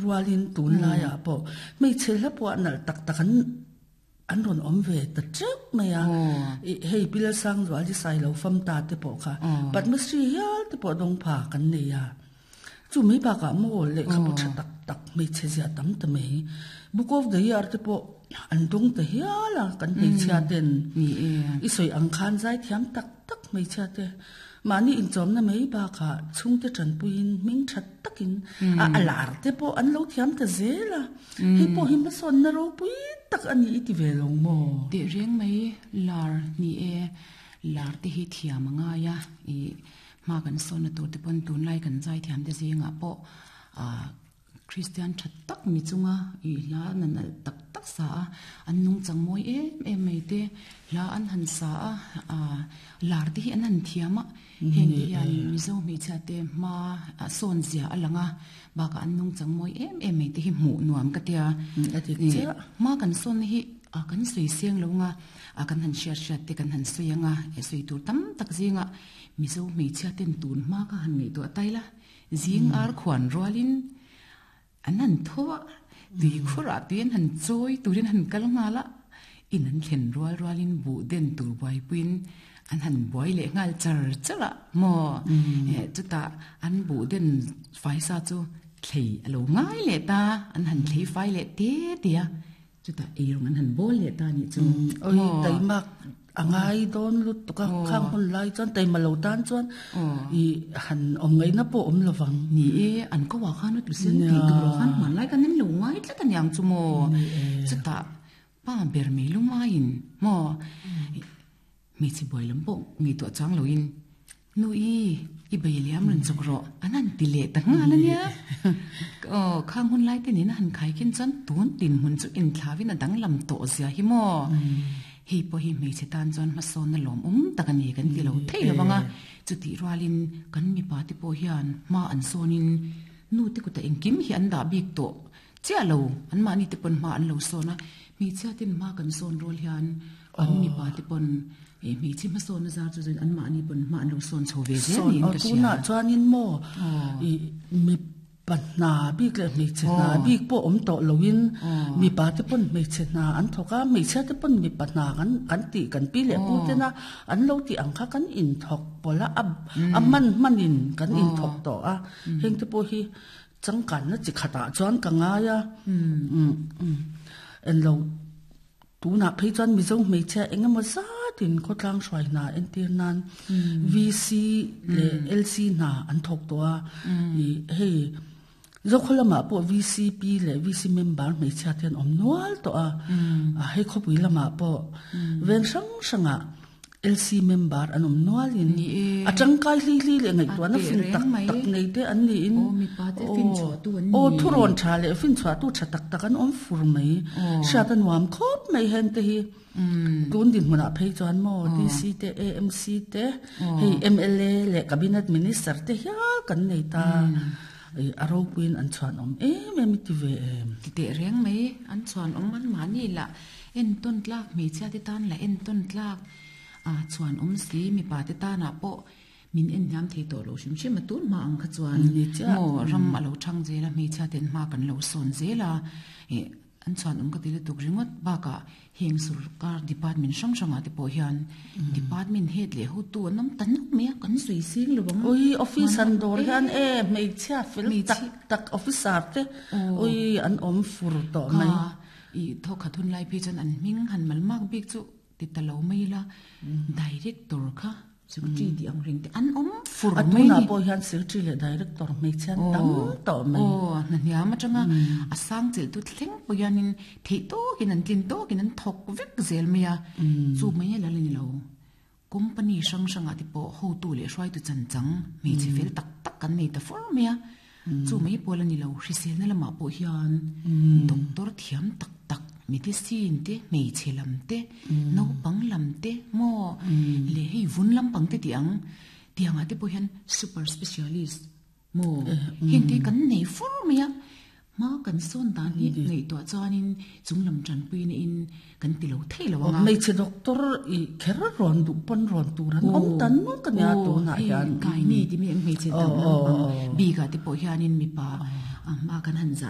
rualin tunlaiah pawh hmeichhe hla pawh nalh tak tak an an rawn awm ve ta teuh mai a. Ih hei Pi Lalsangzual hi Sailo fam ta te pawh kha Padmasri hial te pawh dawng pha kan nei a. Chu mai bakah maw lehkhabu tha tak tak hmeichhe zia tam ta mai. Book of the Year te pawh an dawng ta hial a kan hmeichhia ten. I sawi ang khan zaithiam tak tak hmeichhia te mahni inchawmna mai bakah chhungte tanpuiin hming tha takin a a lar te pawh an lo thiam ta zel a. Hei pawh hi hmasawnna ropui tak a ni i ti ve lo maw? Tehreng mai lar ni e, lar te hi thiam a ngai a i Hma kan sawnna tur te pawn tunlai kan zaithiam te zingah pawh ah Kristian tha tak mi chunga ih hla na nalh tak tak sa a, an nungchang mawi em em mai te, hla an han sa a, ah lar te hi an han thiam a, heng te hian Mizo hmeichhia te hma sawn zia a lang a, bakah an nungchang mawi em em mai te hi hmuh nuam ka tia. Hma kan sawnna hi kan sawi seng lo nga, kan han hriat hriat te kan han sawi anga, sawi tur tam tak zingah Mizo hmeichhia ten tun hma kha han ngaihtuah tai la, zing ar khuan rualin an han tho a, tui khurah tui an han chawi turin an han kal nghal a, in an thlen rual rualin buh den tur buaipuiin an han buai leh nghal char char a maw? Chutah an buh den faisa chu thlei a lo ngai leh ta, an han thlei fai leh te te a. Chutah eirawng an han bawl leh ta nih chu. Oi taimak a ngai dawn lutuk a, khang hun lai chuan taima lo tan chuan i han awm ngaihna pawh awm lo vang. Ni e, an ko ah khan a tlu sen tih tur ah khan hmanlai kan en lo ngai tlat a niang chu maw. Chutah pa ber mai lumaiin maw hmeichhe buai lam pawh ngaihtuah chang loin Nu i, i bei liam rawn chawk rawh, an han ti leh ta nghal a nia. Aw, khang hun lai te nen a han khai khin chuan tun tin hmun chu inthlauin a danglam tawh zia hi maw? Hei pawh hi hmeichhe tan chuan hmasawnna lawmawm tak a ni kan ti lo thei lo ang a, chutih rualin kan mipa te pawh hian hma an sawnin nu te kutah engkim hi an dah bik tawh chiah lo, anmahni te pawn hma an lo sawn a, hmeichhia ten hma kan sawn rual hian An mipa te pawn eh hmeichhe hmasawnna zar chu chuan anmahni pawn hma an lo sawn chho ve zel niin ka hria. Tunah chuanin maw i mipa hna bik leh hmeichhe hna bik pawh awm tawh loin mipa te pawn hmeichhe hna an thawk a, hmeichhia te pawn mipa hna kan kan tih kan pi leh pu tena an lo tih ang kha kan inthawk pawlh a, a hman hmanin kan inthawk tawh a, heng te pawh hi changkanna chi khatah chuan ka ngai a, englo. Tunah phei chuan Mizo hmeichhia eng emaw zatin khawtlang hruai hna entir nan VC leh LC hna an thawk tawh a. Ih hei Zokhaw lamah pawh VCP leh VC member hmeichhia te an awm nual tawh a. Hei khawpui lamah pawh veng hrang hrangah LC member an awm nualin a tangkai hli hli leh ngaihtuahna fin tak tak nei te an niin aw thurawn tha leh finchhuahtu tha tak tak an awm fur mai. Hriat a nuam khawp mai heng te hi. Tun dinhmunah phei chuan maw DC te AMC te hei mla leh cabinet minister te hial kan nei ta. A ropuiin an chhuanawm em em i ti ve em? Ti teh reng mai an chhuanawm anmahni lah. Entawn tlak hmeichhia te tan lah entawn tlak a chuan awm si mipa te tanah pawh min en hniam thei tawh lo hrim hrim a tun hma ang kha chuan maw ram a lo thang zel a hmeichhia ten hma kan lo sawn zel a ih an chuan awm ka ti lutuk ringawt bakah heng sorkar department hrang hrangah te pawh hian department head leh hotu an awm ta nuk mai a kan sawi seng lo ang ui office an dawr hian e hmeichhia fel tak tak officer te ui an awm fur tawh mai. I thawkhat hun lai phei chuan an hming han mal mak bik chu ti ta lo mai ila, Director kha Secretary tih ang reng te an awm fur mai ni. A tunah pawh hian Secretary leh Director hmeichhe an tam tawh mai. Aw, hna hniam atanga a sang chelh tu thleng pawh hianin theih tawkin an tlin tawkin an thawk vek zel mai a, chu mai a la la ni lo. Company hrang hrangah te pawh hotu leh hruaitu chanchang hmeichhe fel tak tak kan nei ta fur mai a, chu mai pawl a ni lo, hriselna lamah pawh hian doctor thiam tak tak medicine te, hmeichhe lam te, naupang lam te maw leh hei vun lampang te tih ang tiangah te pawh hian super specialist Maw? Heng te kan nei fur mai a, hma kan sawn dan hi ngaihtuah chuanin chung lam tanpuina in kan ti lo thei lo ang a. Hmeichhe doctor i kher rawn duh pawn rawn tur an awm ta nuk a nia tunah hian. Kai nei ti mi ang hmeichhe dam lampang bikah te pawh hianin mipa hma kan han zah deuh.